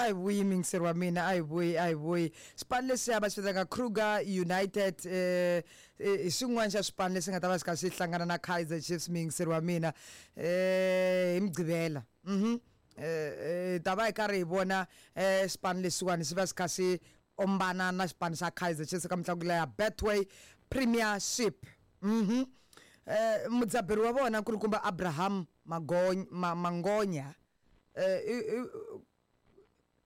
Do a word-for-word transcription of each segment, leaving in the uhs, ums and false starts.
A hi vuyi, muyingiseri wa mina, a hi vuyi, a hi vuyi. Xipano lexiya va xi vitanaka Kruger United eh hi xin'wana xa swipano leswi nga ta va xi kha xi hlangana na Kaizer Chiefs, muyingiseri wa mina, eh hi Mugqivela. Mhm eh ta va hi karhi hi vona eh xipano lexiwani xi va xi kha xi ombana na xipano xa Kaizer Chiefs ka mitlangu leya Betway Premiership. Mhm eh mudzaberi wa vona nkulukumba Abraham Magonya Mangonya, eh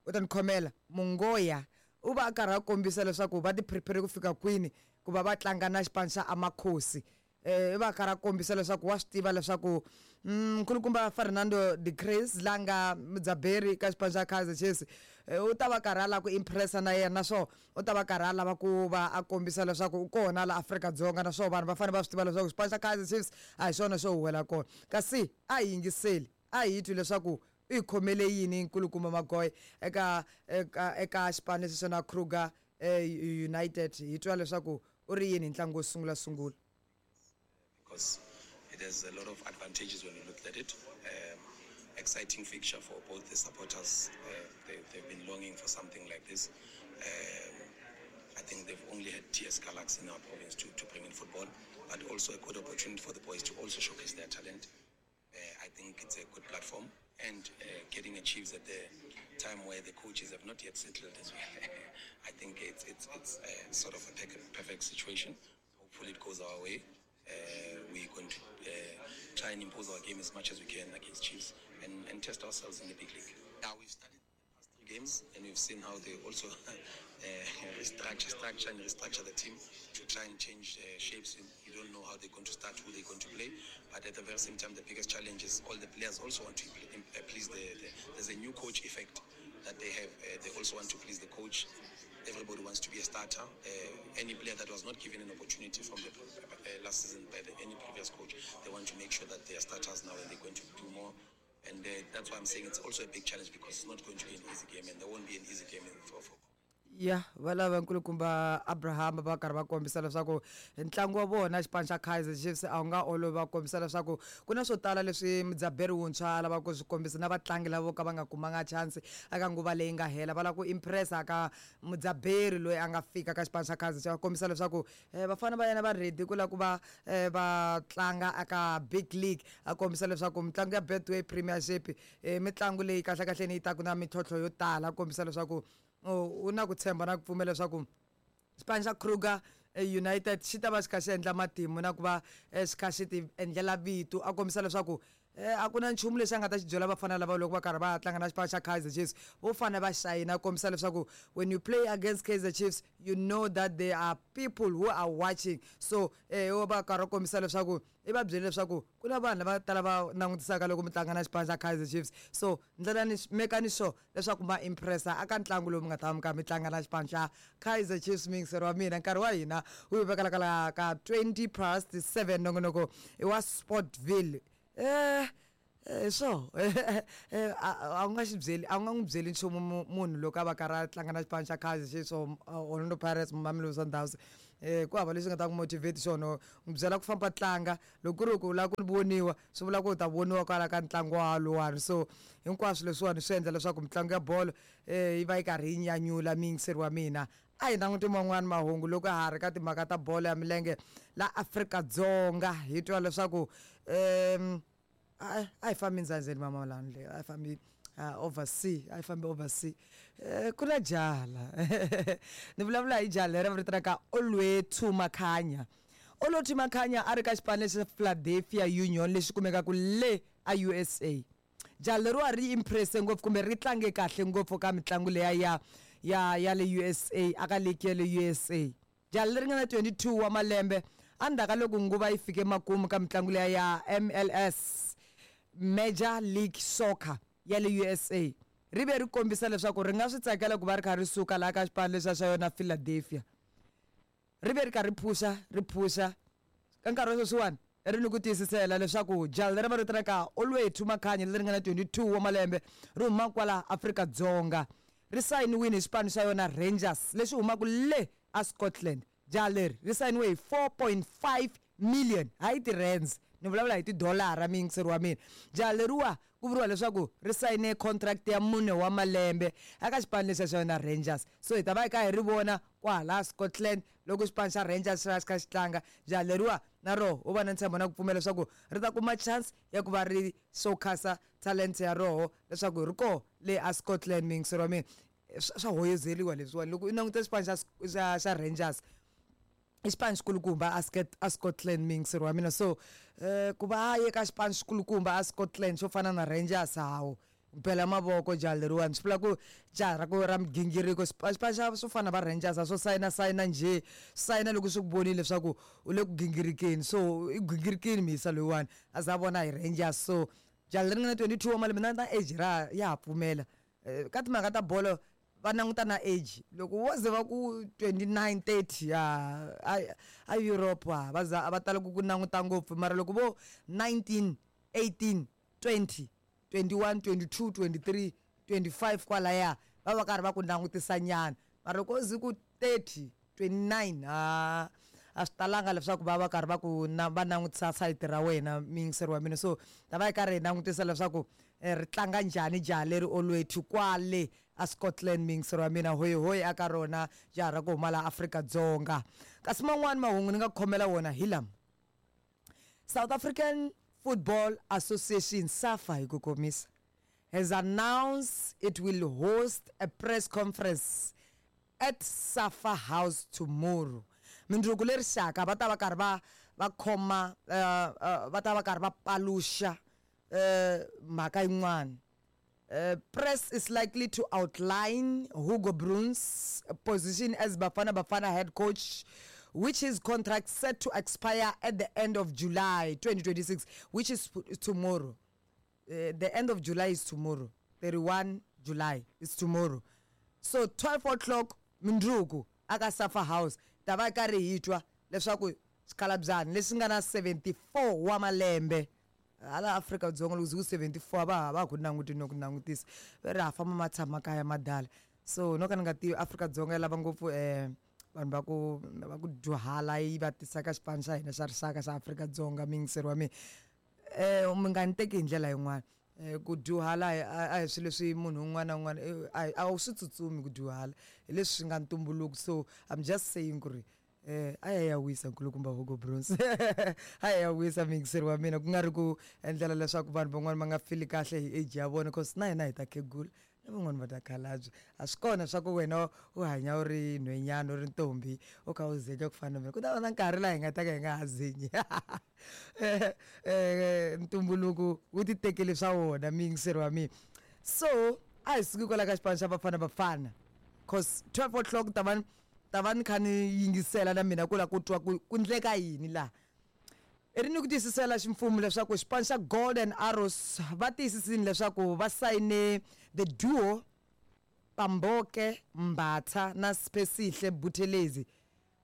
u ta ni khomela, Mungoya, u va a karhi a kombisa leswaku va ti prepare ku fika kwini ku va va tlanga na xipano xa Amakhosi. Eh i va a karhi a kombisa leswaku wa swi tiva leswaku nkulukumba Fernando de Cruz la nga mudzaberi ka xipano xa Kaizer Chiefs u ta va karhi a lava ku impressa na yena, naswona u ta va karhi a lava ku va a kombisa leswaku u kona la Afrika-Dzonga, naswona vanhu va fanele va swi tiva leswaku xipano xa Kaizer Chiefs a hi xona xo huwela kona. Kasi a hi yingiseli, a hi twi leswaku u hi khomele yini nkulukumba Magoya eka eka eka xipano lexi xona Kruger United, hi twa leswaku u ri yini hi ntlangu wo sungula sungula. Because it has a lot of advantages when you look at it. Um, exciting fixture for both the supporters. Uh, they, they've been longing for something like this. Um, I think they've only had T S Galaxy in our province to, to bring in football, but also a good opportunity for the boys to also showcase their talent. Uh, I think it's a good platform, and uh, getting a Chiefs at the time where the coaches have not yet settled as well. I think it's, it's, it's a sort of a perfect situation. Hopefully it goes our way. Uh, we're going to uh, try and impose our game as much as we can against Chiefs and, and test ourselves in the big league. Now we've studied the past three games and we've seen how they also uh, restructure, structure and restructure the team to try and change uh, shapes. You don't know how they're going to start, who they're going to play, but at the very same time, the biggest challenge is all the players also want to please the, the there's a new coach effect that they have. Uh, they also want to please the coach. Everybody wants to be a starter. Uh, any player that was not given an opportunity from the uh, last season by the, any previous coach, they want to make sure that they are starters now and they're going to do more. And uh, that's why I'm saying it's also a big challenge, because it's not going to be an easy game, and there won't be an easy game for, for Ya va lava nkulukumba Abraham va karhi va kombisa leswaku ntlangu wa vona xipano xa Kaizer Chiefs a wu nga olovi, va kombisa leswaku ku na swo tala leswi mudzaberi wuntshwa a lavaka ku swi kombisa na vatlangi lava vo ka va nga kumanga chance eka nguva leyi nga hela, va lava ku impressa ka mudzaberi loyi a nga fika ka xipano xa Kaizer Chiefs, va kombisa leswaku vafana va yena va ready ku lava ku va va tlanga eka big league. A kombisa leswaku mitlangu ya Betway Premiership i mitlangu leyi kahlekahleni yi taka na mintlhontlho yo tala, a kombisa leswaku u na ku tshemba na ku pfumela leswaku xipano xa Kruger United xi ta va xi kha xi endla matimu na ku va xi kha xi ti endlela vito. A kombisa leswaku a ku na nchumu lexi a nga ta xi byela vafana lava loko va karhi va tlanga na xipano xa Kaizer Chiefs, vo fanele va xayina. A kombisa leswaku when you play against Kaizer Chiefs, you know that there are people who are watching. So eh va karhi va kombisa leswaku i va byele leswaku ku na vanhu lava tala va langutisaka loko mi tlanga na xipano xa Kaizer Chiefs, so ndlela ni mekani sure leswaku ma impressa aka ntlangu lowu mi nga ta va mi karhi mi tlanga na xipano xa Kaizer Chiefs. Muyingiseri wa mina, nkarhi wa hina wu hi vekela kwala ka twenty past seven, nongonoko i wa Sportville. Eh eh so a wu nga xi byeli, a wu nga n'wi byeli nchumu munhu loko a va karhi a tlanga na xipano xa Kaizer Chiefs or Orlando Pirates, Mamelodi Sundowns, eh ku hava leswi nga ta ku motivate xona, n'wi byela ku famba tlanga. Loko ku ri ku u lava ku voniwa, swi vula ku u ta voniwa kwala ka ntlangu waluwani. So hinkwaswo leswiwani swi endla leswaku mitlangu ya bolo eh yi va yi karhi yi nyanyula muyingiseri wa mina. A hi languti man'wani mahungu loko ha ri ka timhaka ta bolo ya milenge la Afrika-Dzonga, hi twa leswaku um a hi fambi ndzandzeni mama lani, a hi fambi oversea, a hi fambi oversea. Eh ku na jaha ni vulavula hi jaha leri va vitanaka Olwethu Makhanya. Olwethu Makhanya a ri ka xipano lexi Philadelphia Union lexi kumekaka le a U S A. Jaha leriwa ri impresse ngopfu kumbe ri tlange kahle ngopfu ka mitlangu leya ya ya ya le U S A, aka league ya le U S A. Jaha leri nga na twenty-two wa malembe endzhaku ka loko nguva yi fike makumu ka mitlangu leya ya M L S, Major League Soccer ya le U S A, ri ve ri kombisa leswaku ri nga swi tsakela ku va ri kha ri suka laha ka xipano lexiya xa yona Philadelphia. Ri ve ri karhi ri phusha, ri phusha ka nkarhi wa sweswiwani ri ni ku tiyisisela leswaku jaha leri va ri vitanaka Olwethu Makhanya leri nga na twenty-two wa malembe ri huma kwala Afrika-Dzonga, ri sayiniwile hi xipano xa yona Rangers lexi humaka le a Scotland. Jaha leri ri sayiniwe hi four point five million hayi ti-rands, Ni vulavula hi tidolara, muyingiseri wa mina. Jaha leriwa ku vuriwa leswaku ri sayine contract ya mune wa malembe eka xipano lexiya xa yona Rangers. So hi ta va hi kha hi ri vona kwahala Scotland loko xipano xa Rangers xi va xi kha xi tlanga. Jaha leriwa na roho u va na ntshembo na ku pfumela leswaku ri ta kuma chance ya ku va ri showcasa talent ya roho leswaku ri koho le a Scotland, muyingiseri wa mina. Swa swa hoyozeliwa leswiwani loko i languta xipano xa xa xa Rangers, i xipano xikulukumba a a Scotland, muyingiseri wa mina. So um ku va a ye ka xipano xikulukumba a Scotland xo fana na Rangers, hawu, bela mavoko jaha leriwani. Swi vula ku jaha ra ku ra migingiriko. Xipano xa swo fana na va Rangers a swo sayina sayina njhe, sayina loko swi ku vonile leswaku u le ku gingirikeni. So i gingirikini muyisa loyiwani a za a vona hi Rangers. So jaha leri nga na twenty-two wa malembe na na age ra ya ha pfumela. Ka timhaka ta bolo va languta na age, loko wo ze va ku twenty-nine, thirty, ya a a Europe ha va za va tala ku ku languta ngopfu. Mara loko vo nineteen, eighteen, twenty, twenty-one, twenty-two, twenty-three, twenty-five kwalaya, va va karhi va ku langutisa nyana. Mara loko ze ku thirty, twenty-nine, ha a swi talanga leswaku va va karhi va ku na va langutisa sayiti ra wena, muyingiseri wa mina. So ta va hi karhi hi langutisa leswaku ri tlanga njhani jaha leri Olwethu kwale a Scotland, muyingiseri wa mina. Hoyihoyi aka rona jaha ra ku huma laha Afrika-Dzonga. Kasi man'wani mahungu ni nga khomela wona hi lama: South African Football Association, SAFA hi ku komisa, has announced it will host a press conference at SAFA House tomorrow. Mindzuku leri xaka va ta va karhi va va khoma, va ta va karhi va paluxa mhaka yin'wana. Press is likely to outline Hugo Broos' position as Bafana Bafana head coach, which his contract set to expire at the end of July twenty twenty-six, which is tomorrow. Uh, the end of July is tomorrow. thirty-first July is tomorrow. So twelve o'clock mindzuku aka SAFA House ta va karhi hi twa leswaku xikalabyani lexi nga na seventy-four wa malembe hala Afrika-Dzonga, loko ku seventy-four va ha va ku languti no ku langutisa, va ri ha famba ma tshama kaya madala. So no ka ni nga tivi, Afrika-Dzonga yi lava ngopfu um vanhu va ku va ku dyuhala yi va tisa ka xipano xa hina xa rixaka xa Afrika-Dzonga. Muyingiseri wa mina, um mi nga ni teki hi ndlela yin'wana. um ku dyuhala a hi swilo leswi munhu un'wana na un'wana a wu swi tsutsumi, ku dyuhala hi leswi swi nga ntumbuluko. So I'm just saying ku ri eh a ya ya wisa nkulukumba Hugo Broos, a ya ya wisa, muyingiseri wa mina, ku nga ri ku endlela leswaku vanhu van'wana va nga fili kahle hi age ya vona, cause na hina hi ta khegula na van'wani va ta khalabya. A swi kona swa ku wena u hanya u ri nhwenyana, u ri ntombi, u kha u zenya ku fana na mina. Ku ta va na nkarhi laha hi nga ta ka hi nga ha zenyi. Ntumbuluko wu ti tekele swa wona, muyingiseri wa mina. So a hi suki kwala ka xipano xa Bafana Bafana, cause twelve o'clock ta va ta va ni kha ni yingisela na mina ku la ku twa ku ku ndleka yini laha. I ri ni ku tiyisisela ximfumo leswaku xipano xa Golden Arrows va tiyisisini leswaku va sayine the duo Pamboke Mbatha na Siphesihle Buthelezi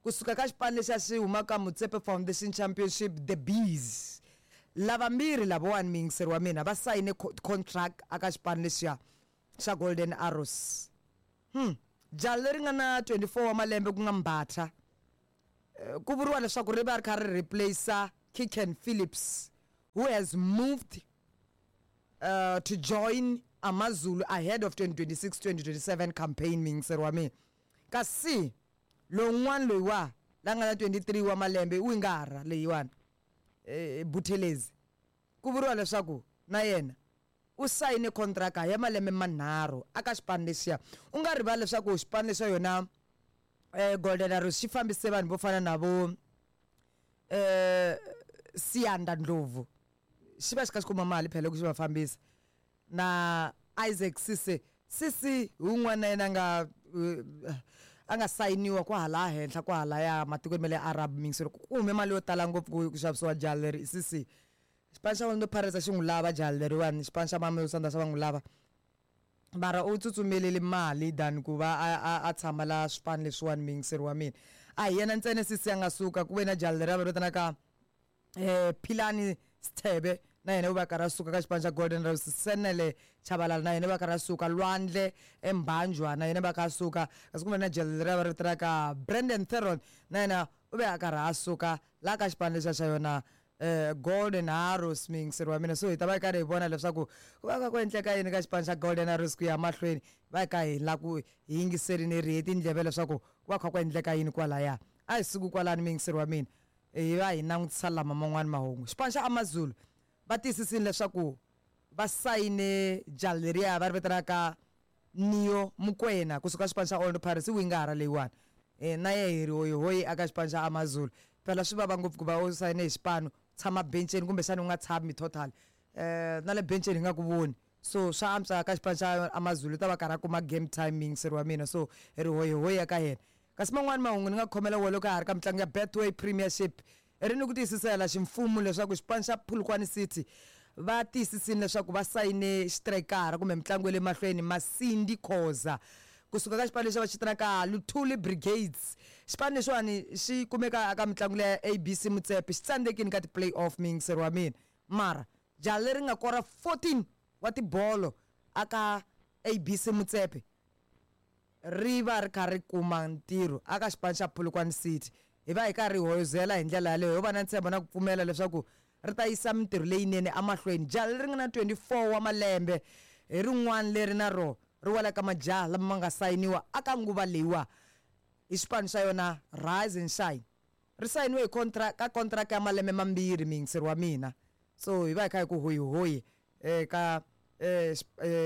kusuka ka xipano lexiya xi humaka Motsepe Foundation Championship, the Bees. Lavambirhi lavawani, muyingiseri wa mina, va sayine contract aka xipano lexiya xa Golden Arrows. hmm jaha leri nga na twenty-four wa malembe ku nga Mbatha, ku vuriwa leswaku ri va ri kha ri replace Kiken Phillips, who has moved uh, to join AmaZulu ahead of twenty twenty-six twenty twenty-seven campaign, muyingiseri wa mina. Kasi lowun'wana loyiwa la nga na twenty-three wa malembe, wingara leyiwani, eh, Buthelezi, ku vuriwa leswaku na yena u sayine contract ya malembe manharhu aka xipano lexiya. U nga rivali leswaku xipano lexa yona eh Golden Arrows xi fambise vanhu vo fana na vo eh Siyanda Ndlovu, xi va xi kha xi kuma mali phela loko xi va fambisa, na Isaac Sise Sisi wun'wana na yena a nga a nga sayiniwa kwahala henhla kwahalaya matikweni ma le Arab. Mixer ku hume mali yo tala ngopfu ku ku xavisiwa jaha leri Sisi. Xipano xa Orlando Pirates a xi n'wi lava jaha leriwani, xipano xa Mamelodi Sundowns va n'wi lava, mara u tsutsumelele mali than ku va a a a tshama la swipano leswiwani, muyingiseri wa mina. A hi yena ntsena Sisi a nga suka, ku ve na jaha leri va vitanaka eh Philani Sithebe, na yena u va karhi a suka ka xipano xa Golden Rose. Senele Chabalala na yena va karhi a suka. Lwandle Embanjwa na yena va kha a suka. Kasi ku ve na jaha leri va ri vitanaka Brandon Theron, na yena u ve a karhi a suka laha ka xipano lexiya xa yona. eh Golden Arrows, miyingiseri wa mina. So hi ta va hi karhi hi vona leswaku ku va ka ku endleka yini ka xipano xa Golden Arrows ku ya mahlweni. Va hi ka hi la ku hi yingiserini ri hi tindleve leswaku ku va kha ku endleka yini kwalaya. A hi suku kwalani, miyingiseri wa mina, hi va hi langutisa lama man'wani mahungu. Xipano xa AmaZulu va tiyisisile leswaku va sayine jaha leriya va ri vitanaka Neo Mokoena kusuka xipano xa Orlando Pirates, i wingara leyiwani. um na ye hi ri hoyihoyi aka xipano xa AmaZulu. Phela swi vava ngopfu ku va u sayine hi xipano, tshama benceni, kumbexani u nga tshami total, um na le benceni hi nga ku voni. So swa antswa ka xipano xa AmaZulu, ta va karhi a kuma game time, miyingiseri wa mina. So hi ri hoyihoyi eka yena. Kasi man'wani mahungu ni nga khomela wo loko ha ri ka mitlangu ya Betway Premiership, i ri ni ku tiyisisela ximfumo leswaku xipano xa Polokwane City va tiyisisile leswaku va sayine xitrayikara kumbe mitlangu ya le mahlweni Masindi Khoza kusuka ka xipano lexi va xi vitanaka Luthuli Brigades. Xipano lexiwani xi kumeka eka mitlangu leya A B C Motsepe, xi tsandzekini ka ti-play off, miyingiseri wa mina. Mara jaha leri nga kora fourteen wa tibolo aka A B C Motsepe ri va ri kha ri kuma ntirho aka xipano xa Polokwane City. Hi va hi karhi hi hoyozela hi ndlela yaleyo, ho va na ntshembo na ku pfumela leswaku ri ta yisa mintirho leyinene emahlweni. Jaha leri nga na twenty-four wa malembe hi rin'wana leri na ro ri wela ka majaha lama ma nga sayiniwa aka nguva leyiwa hi xipano xa yona Rise and Shine. Ri sayiniwe hi contract, ka contract ya malembe mambirhi, miyingiseri wa mina. So hi va hi kha hi ku hoyihoyi eka eh,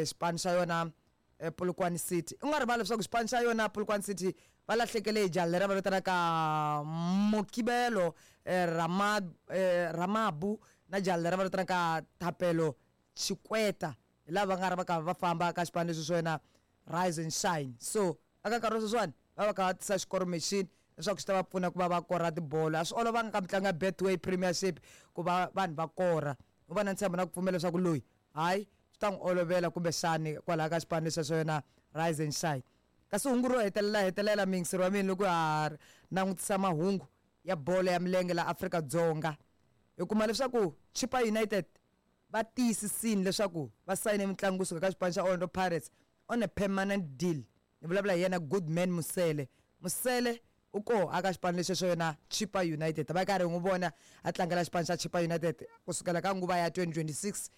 xipano xa yona eh, Polokwane City. U nga rivali leswaku xipano xa yona Polokwane City va lahlekele hi jaha leri va vitanaka Mokibelo eh, Rama, eh, Ramabu na jaha leri va vitanaka Thapelo Chikweta, hi lava va nga ri va karhi va famba ka xipano lexi swa yona Rise and Shine. So aka nkarhi wa sweswiwani va va kha va tisa xikoro machine leswaku xi ta va pfuna ku va va kora tibolo. A swi olovanga ka mitlangu ya Betway Premiership ku va vanhu va kora. U va na ntshembo na ku pfumela leswaku loyi hayi swi ta n'wi olovela kumbexani kwalaho ka xipano lexi xa yona Rise and Shine. Kasi hungu ro hetelela hetelela, miyingiseri wa mina, loko ha langutisa mahungu ya bolo ya milenge la Afrika-Dzonga, hi kuma leswaku Chippa United va tiyisisini leswaku va sayine mitlangu kusuka ka xipano xa Orlando Pirates on a permanent deal. Ni vulavula hi yena Goodman Mosele. Mosele u koho aka xipano lexi xo yona Chippa United, va karhi n'wi vona a tlangela xipano xa Chippa United kusukela ka nguva ya twenty twenty-six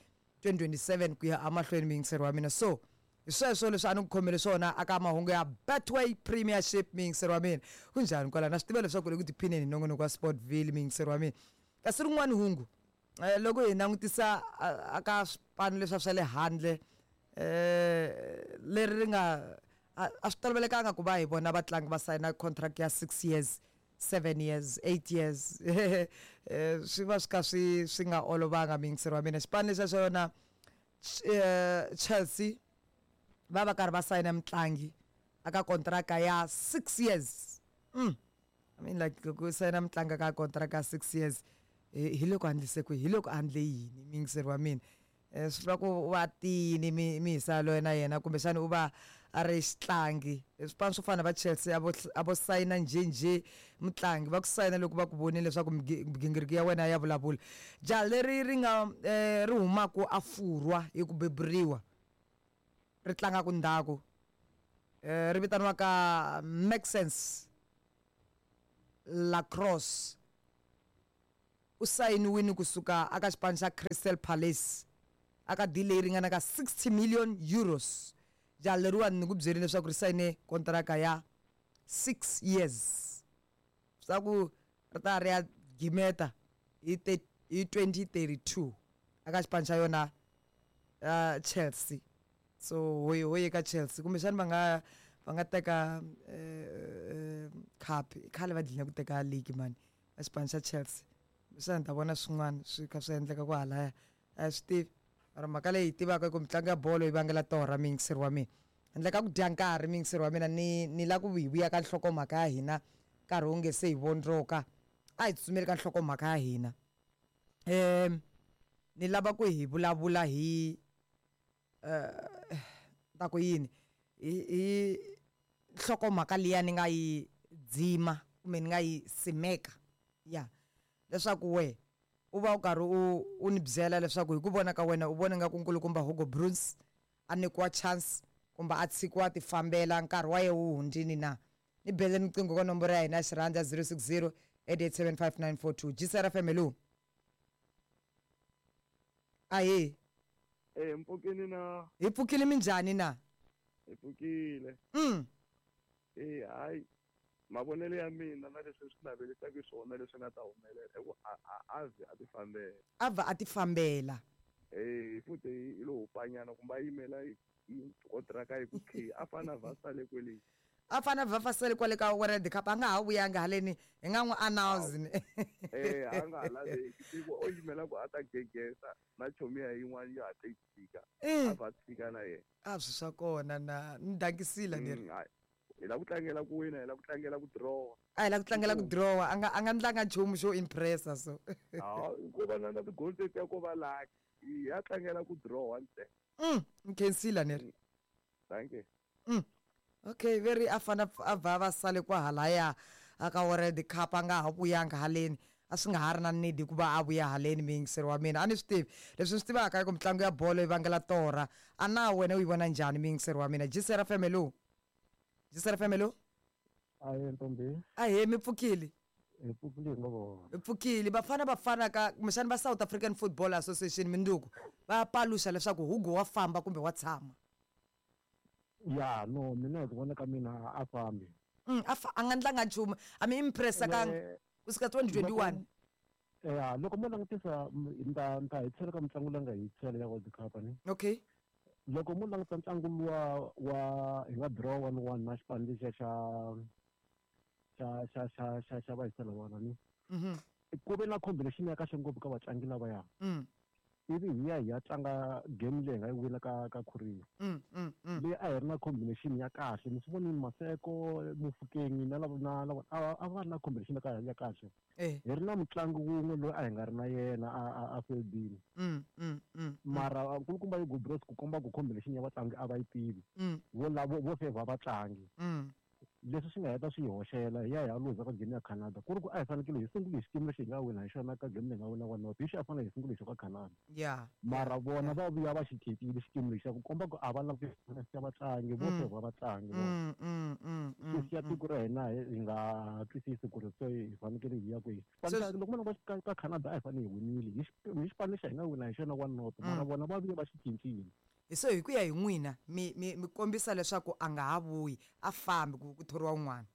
twenty twenty-seven ku ya emahlweni, miyingiseri wa mina. So hi sweswo leswi a ni ku khomele swona aka mahungu ya Betway Premiership, miyingiseri wa mina. Kunjhani kwala? Na swi tiva leswaku le ku tiphineni hi nongonoko wa Sportville, miyingiseri wa mina. Kasi rin'wani hungu, eh, loko hi langutisa aka swipano leswiya swa le handle, eh leri ri nga a a swi tolovelekanga ku va hi vona vatlangi va sayina contract ya six years, seven years, eight years, eh swi va swi kha swi swi nga olovanga, miyingiseri wa mina. Xipano lexiya xa yona eh Chelsea va va karhi va sayina mutlangi aka kontraka ya six years. mm. I mean, like, loko u sayina mutlangi ka kontraka ya six years, hi hi loko a endlise ku hi loko a endle yini, miyingiseri wa mina? um swi vula ku u va tiyini mi mi hisa loyi na yena, kumbexana u va a ri xitlangi. Swipano swo fana na va Chelsea a vo a vo sayina njhenjhe mutlangi, va ku sayina loko va ku vonile leswaku migingiriko ya wena ya vulavula. Jaha leri ri nga um ri humaku a Furwa hi ku beburiwa, ri tlangaka ndzhaku, um ri vitaniwaka Maxence Lacrosse, u sayiniwile kusuka aka xipano xa Crystal Palace aka deal leyi ringanaka sixty million euros. Jaha leriwani ni ku byerile leswaku ri sayine kontraka ya six years, swa ku ri ta ri ya gimeta hi hi twenty thirty-two aka xipano xa yona uh, Chelsea. So hoyi hoyi ka Chelsea, kumbexani va nga va nga teka uh, cup. Khale va dlina ku teka league mani va xipano xa Chelsea. Kumbexani ta vona swin'wana swi kha swi endleka ku halaya, a swi tivi. Mara mhaka leyi hi tivaka i ku mitlangu ya bolo yi vangela torha, miyingiseri wa mina. Handle ka ku dya nkarhi, miyingiseri wa mina, ni ni la ku hi vuya ka nhlokomhaka ya hina nkarhi wu nge se hi vondzoka. A hi tsutsumeli ka nhlokomhaka ya hina. um ni lava ku hi vulavula hi um ta ku yini, hi hi nhlokomhaka liya ni nga yi dzima kumbe ni nga yi simeka ya leswaku we u va u karhi u u ni byela leswaku hi ku vona ka wena u vona nga ku nkulukumba Hugo Broos a nyikiwa chance kumbe a tshikiwa ti fambela, nkarhi wa ye wu hundzini na. Ni bele riqingho ka nomboro ya hina ya xirhandza zero six zero eight eight seven five nine four two. G C R F M, hello. Ahee. Eh mpfukini na. Hi pfukile minjhani na? Hi pfukile. Mm. Eh hayi mavonelo ya mina na leswi swi navelisaka swona leswi nga ta humelela i ku a a a a ti fambela. A va a ti fambela. Eh futhi i lo hupanyana kumbe a yimela kontraka yi ku khe a fana va sale kwele. A fana va fasele kwale ka World Cup a nga ha vuyanga haleni hi nga n'wi announce ni. Eh a nga ha laveki tiko o yimela ku a ta gegesa na chomi ya yin'wana ya hatla yi fika. A va tshika na yena. A swi swa kona na ni dankisile leri. Hi la ku tlangela ku wina, hi la ku tlangela ku draw. A hi la ku tlangela ku draw, a nga a nga ndlanga nchumu xo impressa so. Ha, ko va na ti-goal tetiya ko va lucky. Ya tlangela ku draw ntsena. Mm, nkhensile leri. Thank you. Mm. Okay, very afana a va va sale kwa halaya aka World Cup a nga ha vuyanga haleni. A swi nga ha ri na need ku va a vuya haleni muyingiseri wa mina. A ni swi tivi leswi ni swi tivaka i ku mitlangu ya bolo yi vangela torha. A na wena u yi vona njhani muyingiseri wa mina? G C R F M hello. G C R F M hello. Ahee ntombi. Ahee mi pfukile. Hi pfukile ngopfu. Hi pfukile bafana bafana ka kumbexana va South African Football Association minduku va paluxa leswaku Hugo wa famba kumbe wa tshama. Ya no mina hi ku vona ka mina a fambi. Mm a a nga ndlanga nchumu a mi impressa ka kusuka twenty twenty-one. Ya loko mo langutisa nta nta hi tshela ka mitlangu leyi nga hi tshela ya World Cup ni. Okay. Loko mo languta ntlangu luwa wa hi nga draw one one na xipano lexiya xa xa xa xa xa xa va wana ni. Mhm. Ku ve na combination ya kahle ngopfu ka vatlangi lavaya. Mm. Ivi hi ya hi ya tlanga game leyi hi nga yi wina ka ka Korea. Mm mm mm. Leyi a hi ri na combination ya kahle ni swi vonile Maseko Mofokeng na lava na lava a va ri na combination ya ya kahle. Eh. Hi ri na mutlangi wun'we loyi a hi nga ri na yena a a a fedini. Mm mm mm. Mara nkulukumba Hugo Broos ku komba ku combination ya vatlangi a va yi tivi. Mm. Vo lavo vo favor vatlangi. Mm. Leswi swi nga heta swi hi hoxela hi ya hi ya luza ka game ya Canada ku ri ku a hi fanekele hi sungule hi xikimu lexi hi nga wina hi xona ka game leyi nga wina one not hi xi a fanele hi sungule hi xo ka Canada. Yeah. Mara vona va vuya va xi cincile xikimu lexi ku komba ku a va langutisi ya vatlangi vo favor vatlangi. Mm mm mm. Swi siya tiko ra hina hi nga twisisi ku ri se hi fanekele hi ya kwihi. Loko mo languta ka Canada a hi fanele hi winile hi xipano lexi hi nga wina hi xona one not mara vona va vuye va xi cincile. So hi ku ya hi n'wina mi mi mi kombisa leswaku a nga ha vuyi a fambi ku ku thoriwa un'wana.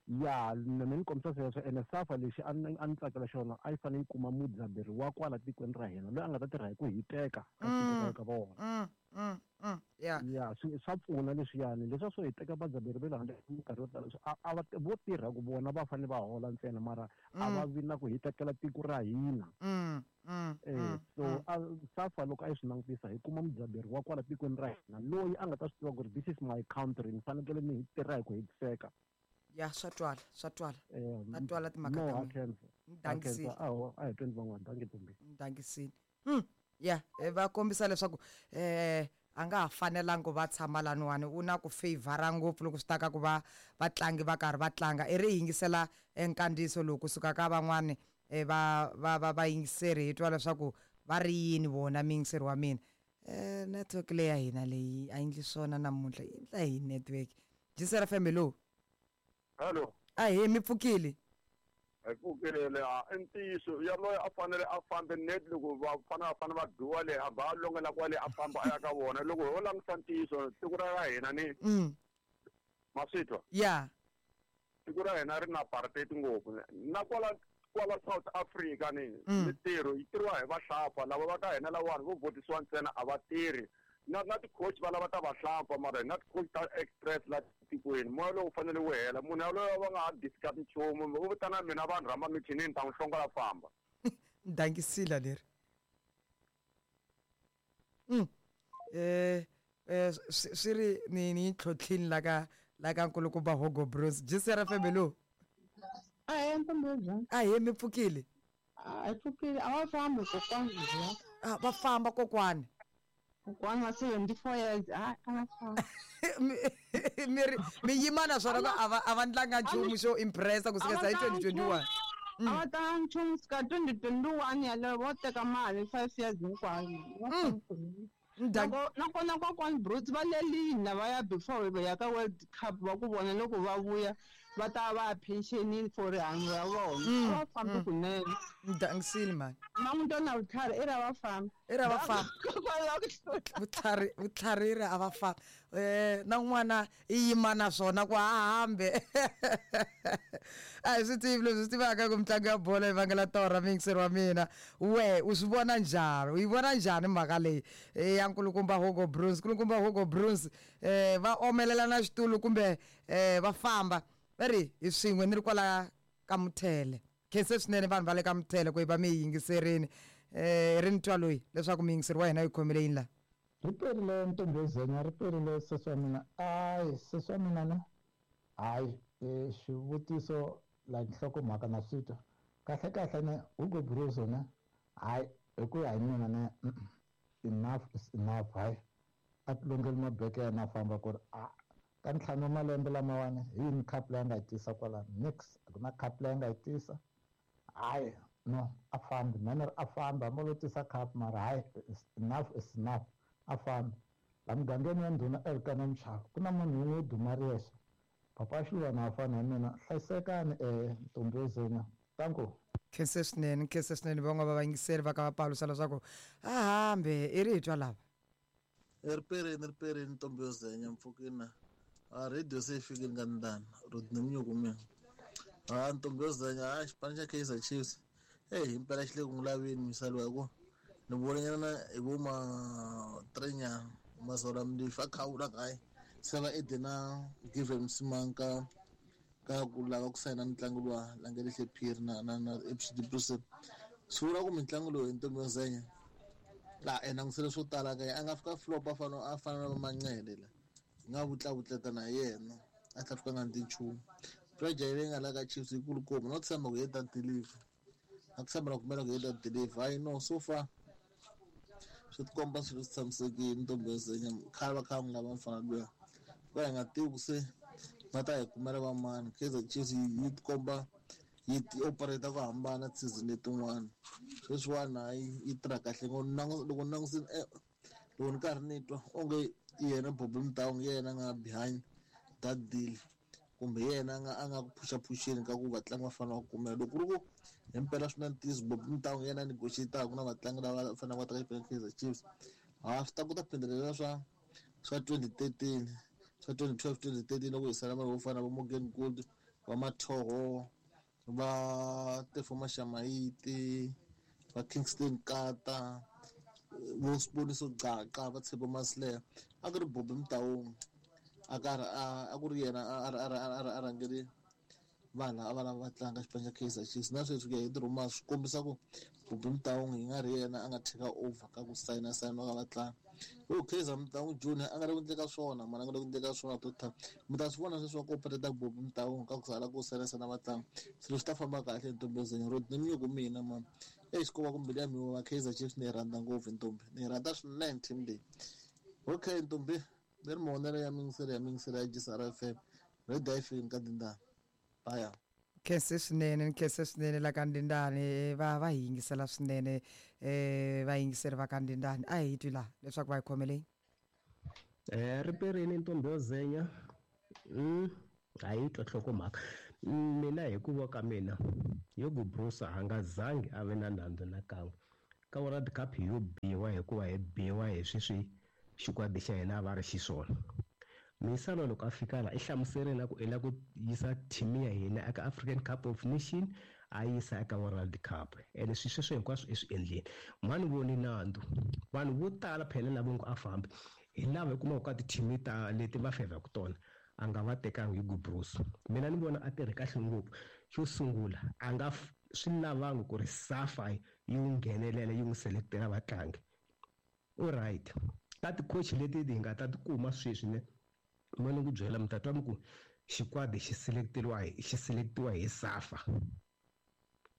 Ya mina ni kombisa sweswo ene SAFA lexi a ni a ni tsakela xona a yi fanele yi kuma mudzaberi wa kwala tikweni ra hina loyi a nga ta tirha hi ku hiteka ka tiko ka vona. Mm mm mm ya. Ya swi swa pfuna leswiyani leswiya swo hi teka vadzaberi va le handle minkarhi yo tala a va vo tirha ku vona va fanele va hola ntsena mara a va vi na ku hitekela tiko ra hina. Mm mm Eh so a SAFA loko a yi swi langutisa hi kuma mudzaberi wa kwala tikweni ra hina loyi a nga ta swi tiva ku ri this is my country ni fanekele ni tirha hi ku hetiseka. Ya swa twala swa twala. Eh Ta twala timhaka no ta a mina. khensa. Dankisile. A a hi tweni van'wana dankie ntombi. Dankisile. Mm ya va kombisa leswaku eh a nga ha fanelangi ku va tshama laniwani u na ku favor ngopfu loko swi ta ka ku va vatlangi va karhi va tlanga i ri yingisela nkandziyiso lowu kusuka ka van'wani va va va vayingiseri hi twa leswaku va ri yini vona muyingiseri wa mina. Eh network leyi ya hina leyi a yi endli swona namuntlha yi endla hi network. G C R F M hello. Hello. Ahee mi pfukile. Hi pfukile i ntiyiso yaloye a fanele a fambe net loko va fanele va fanele va dyiwa le a va longela kwale a famba a ya ka vona loko ho langutisa ntiyiso tiko ra hina ni Mm. ma swi twa. Ya. Tiko ra hina ri na apartheid ngopfu na kwala kwala South Africa ni mintirho yi tirhiwa hi vahlapfa lava va ka hina lawani vo votisiwa ntsena a va tirhi na na ti-coach va lava ta vahlapfa mara na ti-coach ta express la tikweni moya lowu fanele wu hela munhu yaloye va nga ha discuss nchumu vo vitana mina vanhu rhamba michinini ni ta n'wi hlongola famba. Dankisile leri. Mm. Eh eh swi ri ni ni tlhotlhini la ka la ka nkulukumba Hugo Broos. G C R F M hello. Ahee ntombi njhani? Ahee mi pfukile. A hi pfukile a va fambi kokwani. Ah va famba kokwani. Kokwani wa seventy-four years a a va fambi. Mi ri mi yima na swona ku a va a va ndlanga nchumu xo impressa kusuka hi twenty twenty-one. A va tlanga nchumu kusuka twenty twenty-one yaleyo vo teka mali five years hinkwayo. Nakona kokwani Broos va lelini lavaya before va ya ka World Cup va ku vona loko va vuya va ta va pensionini for rihanyo ra vona. A va fambi kunene. Dangisile mani. Mamuntwana vutlhari i ra va fambi. I ra va fambi. Vutlhari vutlhari i ra va fambi. Eh na n'wana i yima na swona ku a hambe. A hi swi tivi leswi swi tivaka ku mitlangu ya bolo yi vangela torha muyingiseri wa mina. We u swi vona njhani? U yi vona njhani mhaka leyi ya nkulukumba Hugo Broos? Nkulukumba Hugo Broos eh va omelela na xitulu kumbe eh va famba. Va ri hi swin'we ni ri kwala ka Muthele. Khense swinene vanhu va le ka Muthele ku yi va mi yi yingiserini. Eh ri ni twa loyi leswaku muyingiseri wa hina yi khomile yini la. Ri perile ntombozenya, ri perile sesi wa mina. Ayi sesi wa mina ne hayi xivutiso like nhlokomhaka na swi twa kahle kahle ne Hugo Broos ne hayi hi ku ya hi mina ne enough is enough. Hayi a ti longeli mabeke ya yena a famba ku ri a ka ntlhanu wa malembe lamawani hi yini cup leyi a nga yi tisa kwalano nix a ku na cup leyi a nga yi tisa. Hayi no a fambi mina ri a fambi hambi lo tisa cup mara hayi enough is enough a fambi. La mugangeni ya ndhuna Elkana Mchava ku na munhu wun'we wo duma ri yexe papa Xilwana a fana na mina hlayisekani eh ntombozenya tanko. Khense swinene, khense swinene van'wana va vayingiseri va ka va paluxa leswaku a hambe i ri hi twa lava. Ri perini ri perini ntombozenya mpfukina a radio se yi fikile ka ndana Rodney Mnyuku mina. A ntombozenya a xipano xa Kaizer Chiefs eh himpela xi le ku n'wi laveni misalo hi ku ni vonanyana hi vo ma three nyana Mazola Mlifa a khawula kaye se va ede na Given Msimang ka ka ku lava ku sayina mitlangu luwa Langelihle Phiri na na na F C Brussels. Swi vula ku mitlangu lowu hi ntombozenya la e langutisele swo tala ka a nga fika flop a fana a fana na Manqele la nga vutlavutleta na yena a tlha fika nga ndi nchumu. Project leyi nga la ka Chiefs yi kulukumba no tshemba ku yi ta deliver a ku tshemba na kumela ku yi ta deliver. Hayi no so far swi tikomba swilo swi tshamisekile ntombozenya khale va kha va n'wi lava mfana luya va hi nga tivi ku se va ta hi kumela va mani. Kaizer Chiefs yi tikomba yi ti operate ku hambana season letin'wana sweswiwani hayi yi tirha kahle ngopfu. Loko ni langusini loko ni karhi ni twa onge yena Bobby Motaung yena a nga behind that deal kumbe yena a nga a nga ku phusha-phusheni ka ku vatlangi va fanele va kumela. Loko ku ri ku himpela swi na ntiyiso Bobby Motaung yena a negotiate-aka na vatlangi lava faneleke va ta ka xipano Kaizer Chiefs ha swi ta kota ku phindhelela swa swa twenty thirteen swa twenty twelve twenty thirteen loko hi sala vanhu vo fana na vo Morgan Gold va Mathoho va Tefo Mashamaite va Kingston Kata vo Siboniso Gaqa va Tshepo Masilela. A ku ri Bobby Motaung a karhi a ku ri yena a a rhangele vanhu a va lava va tlanga xipano xa Kaizer Chiefs na sweswi ku ya hi ti-rumours swi kombisa ku Bobby Motaung hi nga ri yena a nga take over ka ku sayina sayina ka vatlangi. Yo Kaizer Motaung Junior a nga le ku endleka swona mara a nga le ku endleka swona total. Mi ta swi vona sweswi va ku operate Bobby Motaung ka ku sala ku sayina sayina vatlangi swilo swi ta famba kahle ntombozenya Rodney Mnyuku mina mani exi ko va ku mbilu ya mina va Kaizer Chiefs ni yi rhandza ngopfu ntombi ni yi rhandza swinene team leyi. Okay ntombi leri mavonelo ya mingiselo ya mingiselo ya G S R F M radio yi fikile ka Dindani. Bye. Khense swinene, khense swinene la ka Ndindani va va hi yingisela swinene eh va yingiseri va ka Ndindani a hi twi la leswaku va yi khomele. Eh ri perini ntombozenya mm a yi twa nhlokomhaka mina hi ku ka mina Hugo Broos a nga zangi a ve na nandzu na kan'we ka World Cup yo biwa hikuva hi biwa hi sweswi xikwadi xa hina a va ri xiswona. Misalo loko a fika la i hlamuserile na ku i lava ku yisa team ya hina eka African Cup of Nation a yisa eka World Cup ene swi sweswo hinkwaswo i swi endlile. Mhani voni nandzu vanhu vo tala phela lava ngo a fambi hi lava hi kumaka ka ti-team ta leti va favor-ku tona a nga va tekangi Hugo Broos. Mina ni vona a tirhe kahle ngopfu. Xo sungula a nga swi lavangi ku ri SAFA yi n'wi nghenelela yi n'wi selectela vatlangi. All right ka ti-coach leti hi nga ta tikuma sweswi ne mina ni ku byela mi ta twa mi ku xikwadi xi selecteriwa hi xi selectiwa hi SAFA.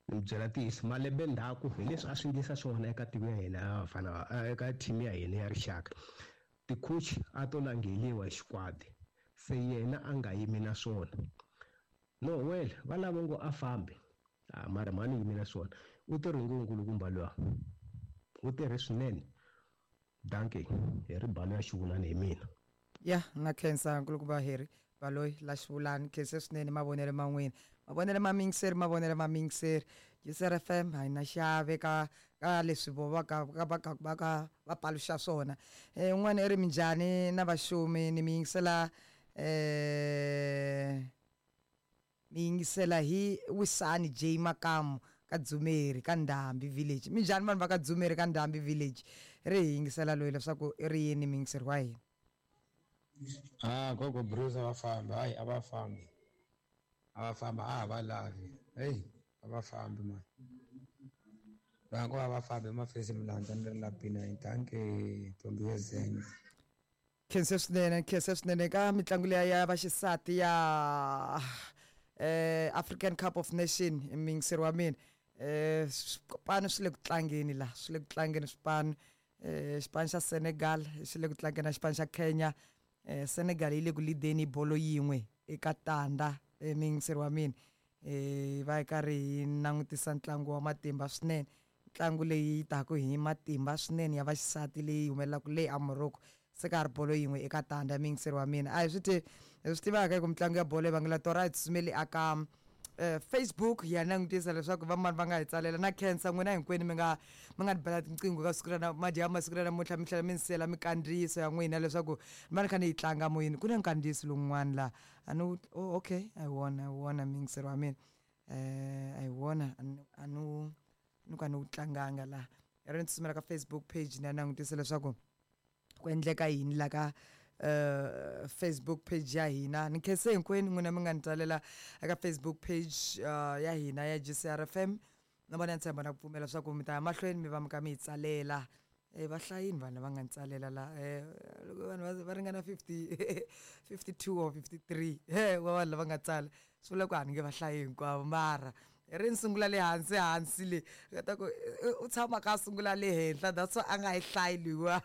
Ni byela ntiyiso malembe ndzhaku hi leswi a swi endlisa swona eka tiko ya hina ya vafana eka team ya hina ya rixaka. Ti-coach a to langheliwa hi xikwadi se yena a nga yimi na swona. No well va lava ngo a fambi a mara mhani yimi na swona u tirhe ngopfu nkulukumba luwa u tirhe swinene. Dankie hi ribalo ya xivulani hi mina. Ya na khensa nkulukumba Harry. Baloyi la xivulani khense swinene mavonelo ma n'wina mavonelo ma mingiseri mavonelo ma mingiseri G C R F M a hi na xiave ka ka leswi vo va ka va ka va ka va paluxa swona. Eh un'wana i ri minjhani na vaxumi ni mi yingisela eh mi yingisela hi Wisani J Makamu ka Dzumeri ka Ndhambi village. Minjhani vanhu va ka Dzumeri ka Ndhambi village ri hi yingisela loyi leswaku i ri yini miyingiseri wa hina. Ah gogo Bruce a va fambi, hayi a va fambi, a va fambi, a va lavi, hey a va fambi mani, va ngo a va fambi mafesi milandza ni ri la B nine. Dankie ntombi yo zenya. Khense swinene, khense swinene ka mitlangu liya ya vaxisati ya eh African Cup of Nation miyingiseri wa mina. Eh swipano swi le ku tlangeni la, swi le ku tlangeni swipano. Eh xipano xa Senegal xi le ku tlangeni na xipano xa Kenya. Eh Senegal yi le ku lideni bolo yin'we eka tanda miyingiseri wa mina. Eh va karhi hi langutisa ntlangu wa matimba swinene, ntlangu leyi taku hi matimba swinene ya vaxisati leyi humelelaka le a Morocco. Se ka ha ri bolo yin'we eka tanda miyingiseri wa mina. A hi swi ti hi swi tivaka ku mitlangu ya bolo yi vangela torha hi tsutsumeli aka Facebook hi ya langutisa leswaku vamani va nga hi tsalela na khensa n'wina hinkwenu mi nga mi nga ni bela tinqingho ka siku ra madya masiku ra namuntlha mi tlhela mi ni siyela mikandziyiso ya n'wina leswaku mi va ni kha ni yi tlanga moyeni. Ku na nkandziyiso lowun'wana laha a ni oh, okay a hi wona a hi wona miyingiseri wa mina eh a hi wona a ni ni ku a ni wu tlanganga laha. Ri ni tsutsumela ka Facebook page ni ya langutisa leswaku ku endleka yini la ka Uh, Facebook page ya hina. Ni khense hinkwenu n'wina mi nga ni tsalela eka Facebook page uh, ya hina ya G C R F M. Na vona ni tshemba na ku pfumela leswaku mi ta ya mahlweni mi va mi kha mi hi tsalela. Eh va hlayini vanhu lava nga ni tsalela la eh loko vanhu va ringana fifty fifty-two or fifty-three he wa vanhu lava nga tsala swi vula ku a ni nge va hlayi hinkwavo mara ri ni sungula le hansi hansi le ta ku u tshama ka sungula le henhla that's why a nga yi hlayi loyiwa.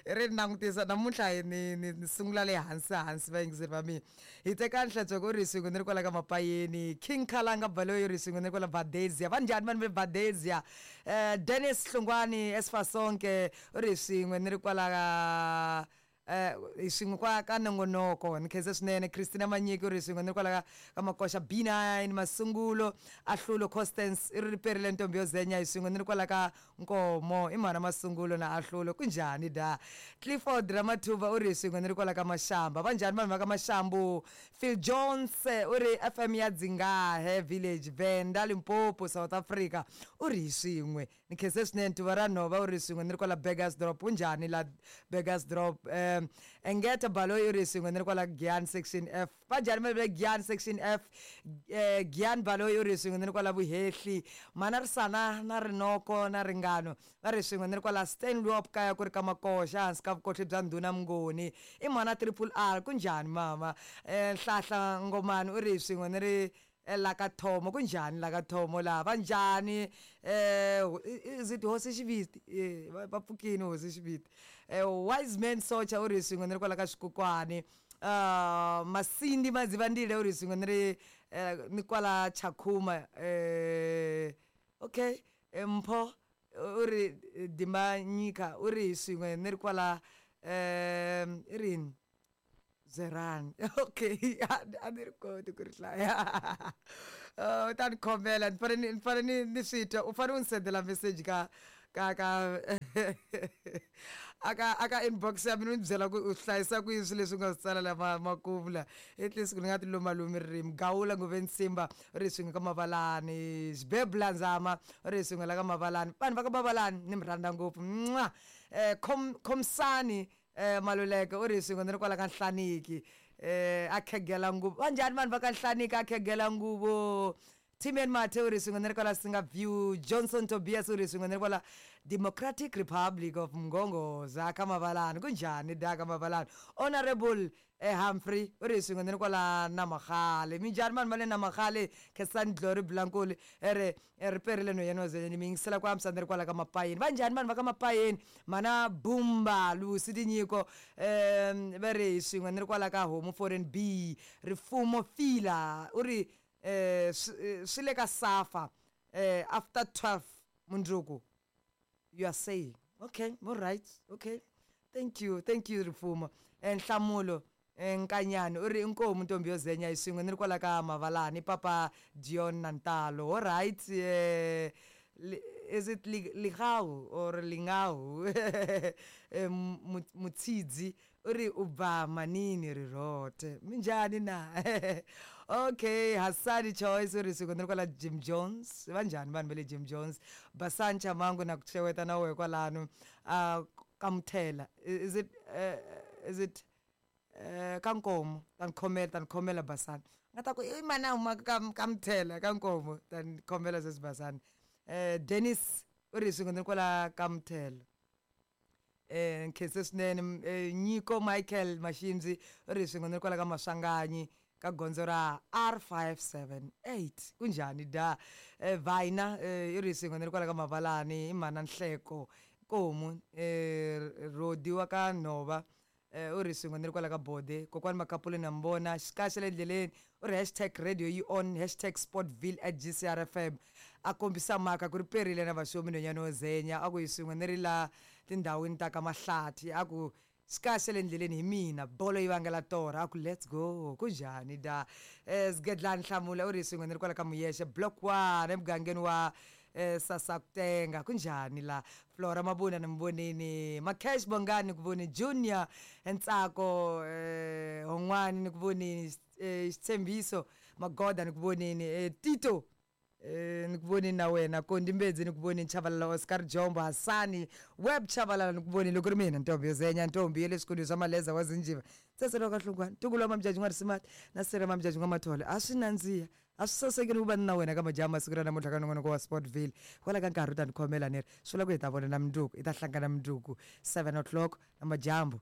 Ri ni langutisa namuntlha ni ni ni sungula le hansi hansi vayingiseri va mina. Hi teka Nhlantsweko u ri swin'we ni ri kwala ka Mapayeni, King Khalanga Baloyi u ri swin'we ni ri kwala Valdezia. Va njhani vanhu ve Valdezia? Eh Dennis Hlungwani Esfasonke u ri swin'we ni ri kwala ka eh swin'we kwa ka nongonoko. Ni khense swinene Christina Manyiki u ri swin'we ni ri kwala ka Makoxa B nine Masungulo Ahlulo Constance i ri riperile ntombi yo zenya hi swin'we ni ri kwala ka Nkomo i mhana Masungulo na Ahlulo kunjhani da. Clifford Ramathuba u ri swin'we ni ri kwala ka Mashamba. Va njhani vanhu va ka Mashambu? Phil Jones u ri F M ya Dzingahe Village Venda Limpopo South Africa u ri swin'we. Ni khense swinene Tuva ra Nhova u ri swin'we ni ri kwala Burgersdorp. Kunjhani la Burgersdorp? Um Engeta Baloyi u ri swin'we ni ri kwala Giyani section F. Va njhani va le Giyani section F? Eh Giyani Baloyi u ri swin'we ni ri kwala Vuhehli. Mana Risana na Rinoko na Ringano va ri swin'we ni ri kwala Stanley kaya ku ri ka Makoxa hansi ka vukohli bya Ndhuna Mnguni. I mhana Triple R kunjhani mama? Eh Nhlahla Ngomani u ri swin'we ni ri la ka Thomo. Kunjhani la ka Thomo la? Va njhani? Eh is it Hosi Xiviti? Eh va pfukini Hosi Xiviti. Eh Wise Man Socha u ri swin'we ni ri kwala ka Xikukwani. Uh Masindi Madzivandile u ri swin'we ni ri ni kwala Chakhuma. Eh okay Mpho u ri Dimanyika u ri swin'we ni ri kwala eh i rini Zeran. Okay, a ni ri koti ku ri hlaya. U ta ni khomela ni fanele ni fanele ni swi twa. U fanele u ni sendela message ka ka ka aka aka inbox ya mina u ni byela ku u hlayisa ku yini swilo leswi u nga swi tsala la makumu la. At least ku ni nga ti lumalumi ririmi. Gawula Ngove Nsimba u ri swin'we ka Mavalani. Xibebula Nzama u ri swin'we la ka Mavalani. Vanhu va ka Mavalani ni mi rhandza ngopfu. Mwah. Eh Khomsani eh Maluleke u ri swin'we ni ri kwala ka Nhlaniki. Eh a khegela nguvu. Va njhani vanhu va ka Nhlaniki a khegela nguvu? Timen Mathe u ri swin'we ni ri kwala Singa View. Johnson Tobias u ri swin'we ni ri kwala Democratic Republic of Mgongoza ka Mavalani. Kunjhani da ka Mavalani? Honorable eh Humphrey u ri swin'we ni ri kwala Namagale. Minjhani vanhu va le Namagale? Khensani Glory Blankoli ri ri perile no yena ni mi yingisela ku antswisa ni ri kwala ka Mapayeni. Va njhani vanhu va ka Mapayeni? Mana Bumba Lucy Tinyiko um va ri hi swin'we ni ri kwala ka Homu Foreign B. Rifumo Fila u ri eh swi le ka Safa eh after twelve mundzuku you are saying. Okay, all right, okay, thank you, thank you Rifumo. Eh Nhlamulo Nkanyani u ri inkomu ntombi yo zenya hi swin'we ni ri kwala ka Mavalani papa Dion Nantalo. All right, eh, is it Ligau or Lingau? Mutsidzi u ri u bva manini ri rote minjhani na? Okay, Hassani Choice u ri swin'we ni ri kwala Jim Jones. Va njhani vanhu va le Jim Jones? Basani Chamangu na ku xeweta na wehe kwalano. Uh, Kamthela, is it uh, is it uh, ka Nkomo? Ta ni khomela, ta ni khomela Basani. Nga ta ku i mana huma ka ka Mthela ka Nkomo, ta ni khomela sweswi Basani. Eh, Dennis u ri swin'we ni ri kwala ka Mthela. Eh, nkhense swinene. Nyiko Michael Mashimzi u ri swin'we ni ri kwala ka Maswanganyi ka gondzo ra R five seven eight. Kunjhani da? Eh, Vaina i ri swin'we ni ri kwala ka Mavalani i mana Nhleko Nkomu. Eh, Rodi wa ka Nhova u ri swin'we ni ri kwala ka Bode. Kokwani Makapule na mbona xikaxa le ndleleni u ri hashtag radio yi on hashtag sportville at G C R F M. A kombisa mhaka ku ri perile na vaxomi nhwanyana wo zenya a ku hi swin'we ni ri la tindhawini ta ka Mahlathi a ku xikaxa le ndleleni hi mina bolo yi vangela torha a ku let's go. Kunjhani da? Eh, Sgedlani Hlamula u ri swin'we ni ri kwala ka Muyexe block one emugangeni wa eh, Sasakutenga. Kunjhani la? Flora Mabuna ni mvonini, Makesh Bongani ni ku voni, Junior Ntsako eh, Hongwani ni ku vonini, eh, Xitshembiso Magoda ni ku vonini, eh, Tito eh, ni ku vonini na wena, Kondi Mbedzi ni ku vonini, Chavalala Oscar Jombo, Hassani Web Chavalala ni ku vonini. Loko ri mina ntombi yo zenya ntombi ya le swikolweni swa Maleza wa Zinjiva tseselo ka Hlungwani ntukulu wa Mamjaji n'wa Risimati na sere Mamjaji n'wa Mathole a swi nandziha a swi sasekile ku va na wena ka majaha masiku ra namuntlha ka nongonoko wa Sportville. Kwala ka nkarhi u ta ni khomela ni ri swi vula ku hi ta vonana mundzuku, hi ta hlangana mundzuku seven o'clock na madyambu.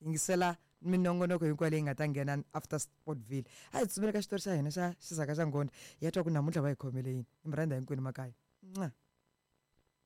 Yingisela minongonoko hinkwayo leyi nga ta nghena after Sportville. A hi tsutsumela ka xitori xa hina xa xisaka xa Nghondi hi ya twa ku namuntlha va hi khomele yini. Ni mi rhandza hinkwenu makaya. Mwah.